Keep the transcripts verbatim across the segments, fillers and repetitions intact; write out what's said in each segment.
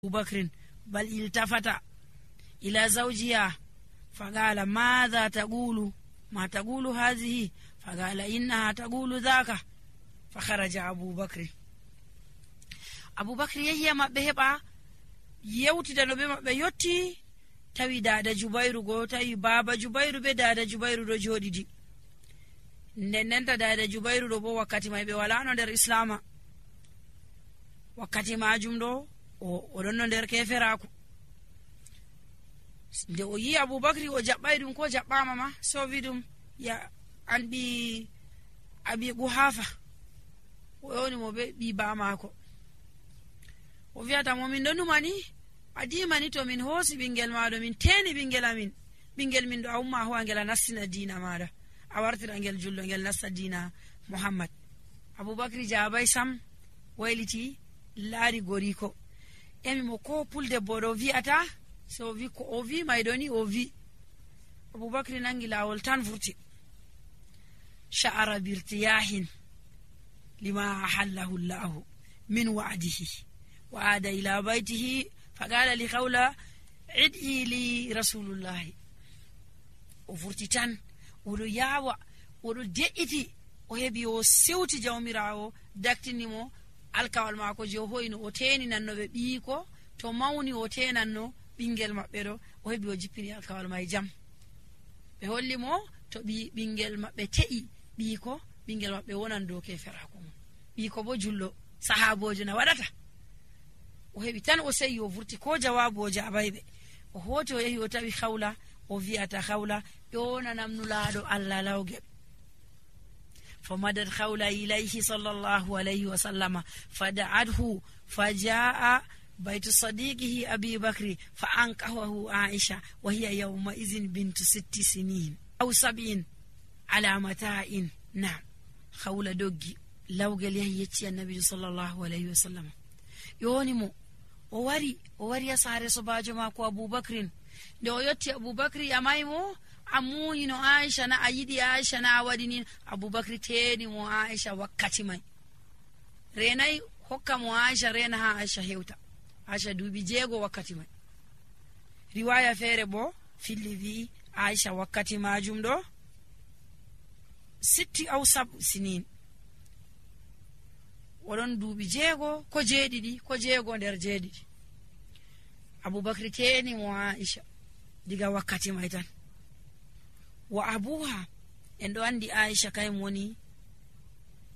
أبو بكر بل التفت إلى زوجها فقال ماذا تقول ما تقول هذه فقال إنها تقول ذاك فخرج أبو بكر أبو بكر يهي مبه هبا يوتي دانو بمبه يوتي tawi dada Jubairu go tawi baba Jubairu be dada Jubairu do jodidi nden nenta dada Jubairu do bo wakkati mai be wala no der islama wakkati majum do o don no der keferaku nde o yi Abubakar o jabbay dum ko jabbama ma so vidum ya andi abi Quhafa o yoni mo be bi ba mako o viata mo min donu mani adimani to min hosi bingel maado min teni bingel amin bingel min do awma ho angela nasina dina maada a wartira ngel jullo ngel nassa dina Muhammad. Abubakar jabay sam wayliti laari goriko emi mo ko pulde bodo viata so vi ko o vi maydoni o vi Abubakar nangi lawol tan furti sha'ara birtiyahin lima ahallahu Allah min wa'dihi wa ada ila baytihi فقال لخولة عدي لي رسول الله وفرتتان ولو ياوى ولو دئتي وهبي وسوتي جوميراو داكتنيمو alkawal mako je hoyno o teni nanno be biiko to mawni o tenanno bingel mabbe do o hebi o jippini alkawal mai jam be holli mo to bi bingel mabbe te'i biiko bingel mabbe wonan do ke ferako biiko bo jullo sahabojo na wadata o hebi tan o sey o vurti ko jawabu o jabaybe o hoti o yehi o tawi Khawla o viata Khawla yona namnulaado Allah lawge فمدت خولة إليه صلى الله عليه وسلم فدعته فجاء بيت صديقه أبي بكر فأنكحه عائشة وهي يومئذ بنت ست سنين أو سبعين على متاع. نعم خولة دوغي لوغل يهيتي النبي صلى الله عليه وسلم يونمو ووري ووري يساري صباجو ماكو أبو بكر دو يوتي أبو بكر يمايمو amuni no Aisha na ayidi Aisha na wadini Abubakar teni mo Aisha wakkati mai renai hokka mo Aisha rena ha Aisha hewta Aisha dubi jego wakkati mai riwaya fere bo filivi Aisha wakkati majum do sitti aw sab sinin wodon dubi jego ko jeedidi ko jego der jeedidi Abubakar teni mo Aisha diga wakkati mai tan wa abuha endo andi Aisha kay moni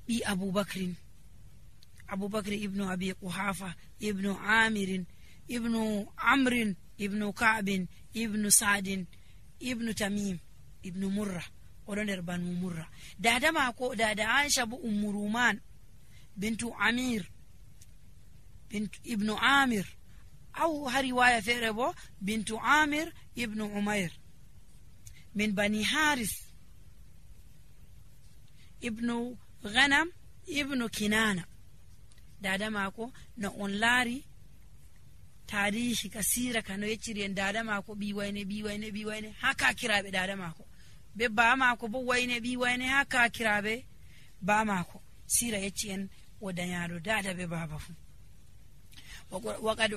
bi Abu Bakrin Abu Bakr ibn Abi Quhafa ibn Amir ibn Amr ibn Ka'b ibn Sa'd ibn Tamim ibn Murra odoner banu Murra dada mako dada Aisha bu Ummu Ruman bintu Amir bint ibn Amir aw riwaya ferebo bintu Amir ibn Umayr من بني حارث ابن غنم ابن كنانة دادا ماكو na on laari tarihi kasira kano yeciri en dada mako bi wayne bi wayne bi wayne haka kirabe dada mako be ba mako bo wayne bi wayne haka kirabe ba mako sira yecci en wodanyaado dada be baba fu waqad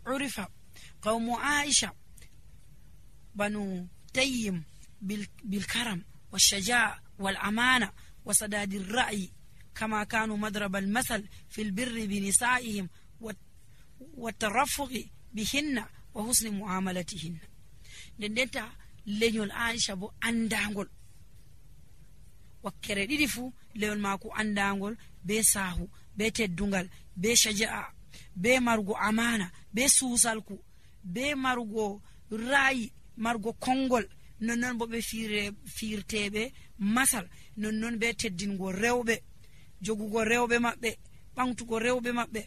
urifa qawmu Aisha banu tayyim بالكرم والشجاع والأمانة وسداد الرأي كما كانوا مضرب المثل في البر بنسائهم والترفق بهن وحسن معاملتهن دندتا لنيول عائشة بو أندانغول وكره ديدي فو ليول ماكو أندانغول بي ساهو بي تدونغال بي شجاع بي مرغو أمانة بي سوسالكو بي مرغو رأي مرغو كونغول nonnon bo be fiire fiirtebe masal nonnon be teddingo rewbe jogugo rewbe mabbe bangtugo rewbe mabbe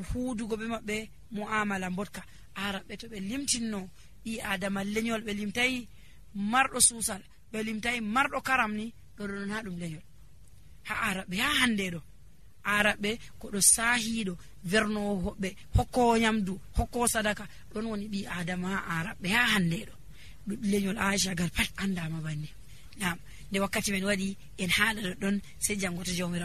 huudugo be mabbe muamala botka arabe to be limtinno i adama lenyol be limtay mardo susal be limtay mardo karamni do don ha dum lenyol ha arabe ha hande do arabe ko do sahido verno hobbe hokko nyamdu hokko sadaka don woni bi adama arabe ha hande do lenyol Aisha gal pat andama banni. Naam de wakkati men wadi en haala don se jangoto jawmira